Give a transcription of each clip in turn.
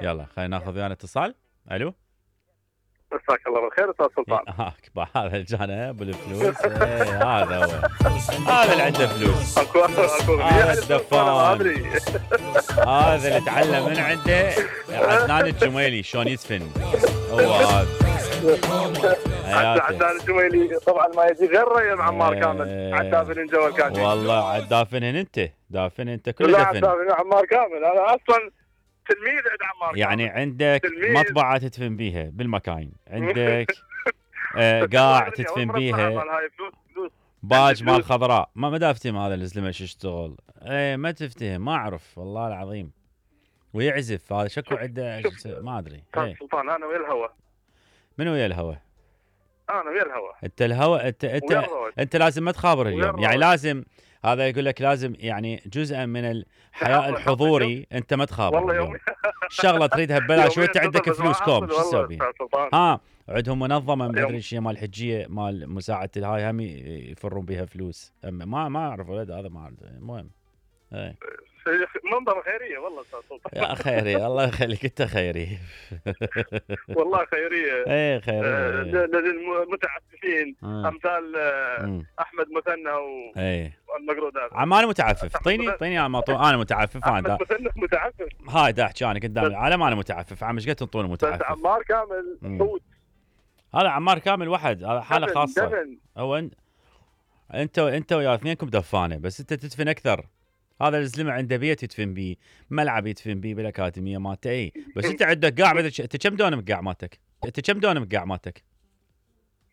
يلا خلينا ناخذ ويانا اتصال. الو مساك الله بالخير استاذ سلطان. هذا الجانب بالفلوس. هذا هو، هذا اللي عنده فلوس، هذا الدفان، هذا اللي تعلم من عنده عدنان الجميلي شلون يدفن. هو هذا عدنان الجميلي طبعا ما يجي غير مع عمار كامل. عدافن جو الكاتب والله عدافنهن انت، دافن انت كل لا دفن. عدافن عمار كامل. انا اصلا تلميذ عند عمار يعني كامل. عندك مطبعة تدفن بيها بالمكاين، عندك قاع تدفن بيها، باج مال خضراء. ما دافتهم هذا الزلمه شو يشتغل. ما تفتهم، ما اعرف والله العظيم. ويعزف هذا شكو عنده ما ادري. سلطان انا ويا الهوى. من ويا الهوى؟ انا ويا الهوى. انت الهوى، انت لازم ما تخابر اليوم، يعني لازم هذا يقول لك لازم يعني جزءا من الحياء الحضوري انت ما تخابر. والله يوم الشغله تريدها ببلاش وانت عندك فلوس كوم، شو تسوي بيها؟ عندهم منظمه ما ادري شيء مال الحجيه مال مساعده الهاي هم يفرون بها فلوس. ما اعرف ولد هذا ما اعرف. المهم منظمه خيريه والله استاذ سلطان. يا خيري الله يخليك، انت خيري والله خيريه. ايه خيريه للمتعففين امثال احمد مثنى والمقرودات. انا متعفف. اعطيني انا متعفف. انا متعفف. هاي دا احكي انا قدام العالم انا متعفف. ايش قد تنطون متعفف؟ عمار كامل صوت. هذا عمار كامل وحد، هذا حاله خاصه. هو انت ويا اثنينكم دفانه، بس انت تدفن اكثر. هذا الزلمه عنده بيت يدفن بيه، ملعب يدفن بيه بالاكاديميه مالته. اي بس انت عندك قاع. انت كم دونم قاع مالتك؟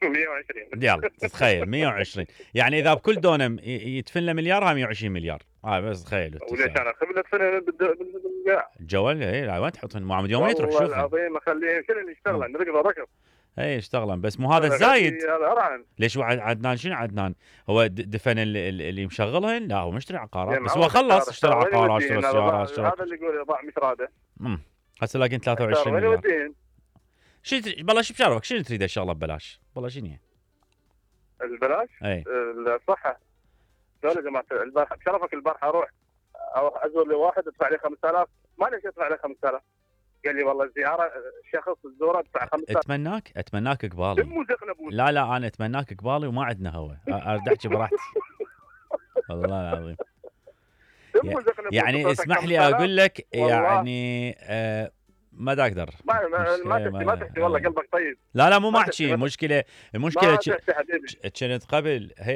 120. يلا تتخيل 120. يعني اذا بكل دونم يدفن له مليار، ها 120 مليار. بس تخيل. وليش انا خبل ادفنها بالقاع؟ الجوال لا وين تحطهم؟ معمد يوم تروح شوف. والله العظيم اخليهم كلهم يشتغلون ركض. اي يشتغلون بس مو هذا الزايد. ليش عدنان شنو عدنان؟ هو دفن اللي مشغلهن؟ لا هو مشتري عقارات بس هو خلص اشترى عقارات اشترى سيارات هذا اللي يقول يضاع مش راده. هسه لاقين 23 مليار. والله شو بشارفك شنو تريد الشغله ببلاش؟ والله شنو هي؟ البلاش؟ اي الصحه. قالوا يا جماعه البارحه بشرفك البارحه اروح ازور لي واحد ادفع لي 5000. ما ليش ادفع لي 5000؟ قال لي والله الزياره شخص الزوره ادفع 5000. اتمناك قبالي. لا انا اتمناك قبالي وما عندنا هوا. ارد احكي براحتي والله العظيم. يعني اسمح لي اقول لك يعني ما دا اقدر. ما تحكي والله قلبك طيب. لا مو ما احكي. المشكله كنت قبل